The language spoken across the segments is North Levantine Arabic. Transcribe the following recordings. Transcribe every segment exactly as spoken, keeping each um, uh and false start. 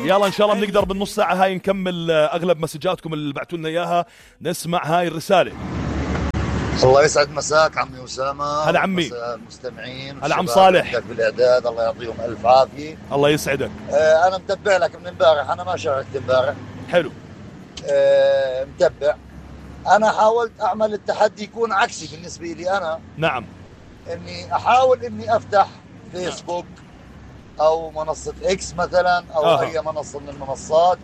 يلا ان شاء الله بنقدر بالنص ساعة هاي نكمل اغلب مسجاتكم اللي بعتوا لنا اياها. نسمع هاي الرسالة. الله يسعد مساك عمي أسامة. هلا عمي. المستمعين. هلا عم صالح. بالاعداد الله يعطيهم الف عافية. الله يسعدك. آه انا متبع لك من امبارح، انا ما شاركت امبارح. حلو. آه متبع. انا حاولت اعمل التحدي يكون عكسي بالنسبة لي انا. نعم. اني احاول اني افتح فيسبوك او منصة اكس مثلا او آه. اي منصة من المنصات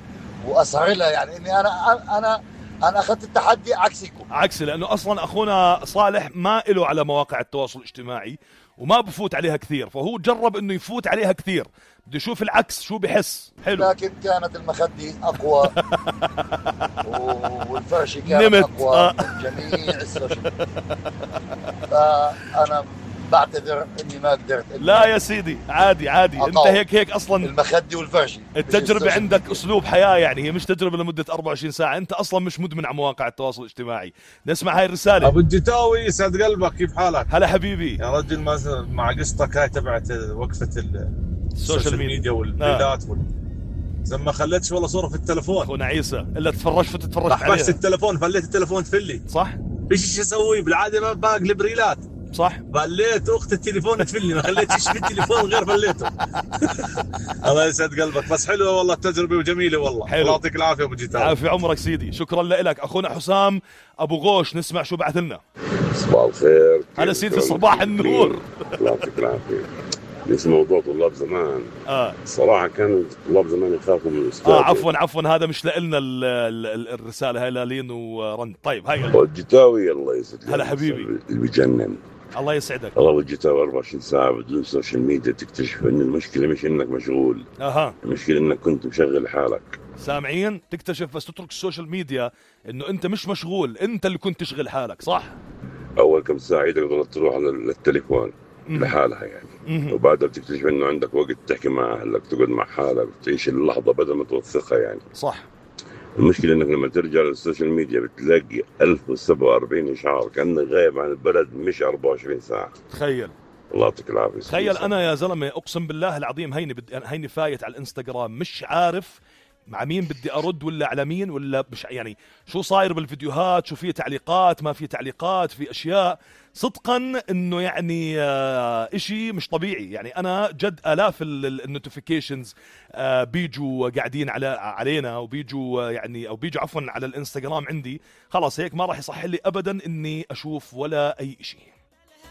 واسهر لها، يعني اني انا انا انا اخذت التحدي عكسكم. عكسي لانه اصلا اخونا صالح ما له على مواقع التواصل الاجتماعي وما بفوت عليها كثير، فهو جرب انه يفوت عليها كثير، بده يشوف العكس شو بحس. حلو. لكن كانت المخدة اقوى والفرشة كانت نمت. اقوى آه. من جميع السوشيال. فانا بعتذر اني ما قدرت. لا يا سيدي عادي عادي. انت هيك هيك اصلا المخدة والفرشة. التجربة عندك اسلوب حياة، يعني هي مش تجربة لمدة أربعة وعشرين ساعة، انت اصلا مش مدمن على مواقع التواصل الاجتماعي. نسمع هاي الرسالة. ابو الجتاوي يسعد قلبك، كيف حالك؟ هلا حبيبي يا رجل. مع قصتك هاي تبعت وقفة السوشيال ميديا والريلات آه. وال... زي ما خليتش والله صورة في التلفون اخونا عيسى الا تفرجت تتفرج عليها. احبست التلفون، فليت التلفون تفلي. صح. فيش شو اسوي بالعاده، ما بقلب ريلات. صح. فليت اخت التليفون تفلي، ما خليتش في التليفون غير فليته. الله يسعد قلبك. بس حلوه والله التجربه وجميله والله. الله يعطيك العافيه ابو جيتار. عافية عمرك سيدي، شكرا لك. اخونا حسام ابو غوش نسمع شو بعث لنا. صباح الخير. هلا سيدي صباح النور. الله يعطيك العافيه. نفس موضوع طلاب زمان. اه صراحه كانوا طلاب زمان يخافوا من الاستاذ. اه عفوا عفوا هذا مش لنا الرساله هاي لين ورند. طيب هاي الجتاوي الله يسعدك. هلا حبيبي. اللي بيجنن. الله يسعدك. الله الجتاوي أربعة وعشرين ساعه بدون سوشيال ميديا، تكتشف ان المشكله مش انك مشغول. اها المشكله انك كنت مشغل حالك. سامعين؟ تكتشف بس تترك السوشيال ميديا انه انت مش مشغول، انت اللي كنت تشغل حالك. صح. اول كم ساعه ايدك ضلت تروح على التليفون لحالها يعني. مم. وبعدها بتكتشف انه عندك وقت تحكي مع اهلك، تقعد مع حالك وتعيش اللحظه بدل ما توثقها يعني. صح. المشكله انك لما ترجع للسوشيال ميديا بتلاقي ألف وسبعة وأربعين اشعار كانك غايب عن البلد مش أربعة وعشرين ساعه. تخيل. الله يعطيك العافيه. تخيل انا يا زلمه اقسم بالله العظيم هيني بدي هيني فايت على الانستغرام مش عارف مع مين بدي ارد ولا على مين ولا مش يعني شو صاير بالفيديوهات، شو في تعليقات ما في تعليقات، في اشياء صدقا انه يعني آه اشي مش طبيعي. يعني انا جد الاف النوتيفيكيشنز آه بيجوا قاعدين على علينا وبيجوا آه يعني او بيجوا عفوا على الانستغرام عندي. خلاص هيك ما راح يصح لي ابدا اني اشوف ولا اي اشي.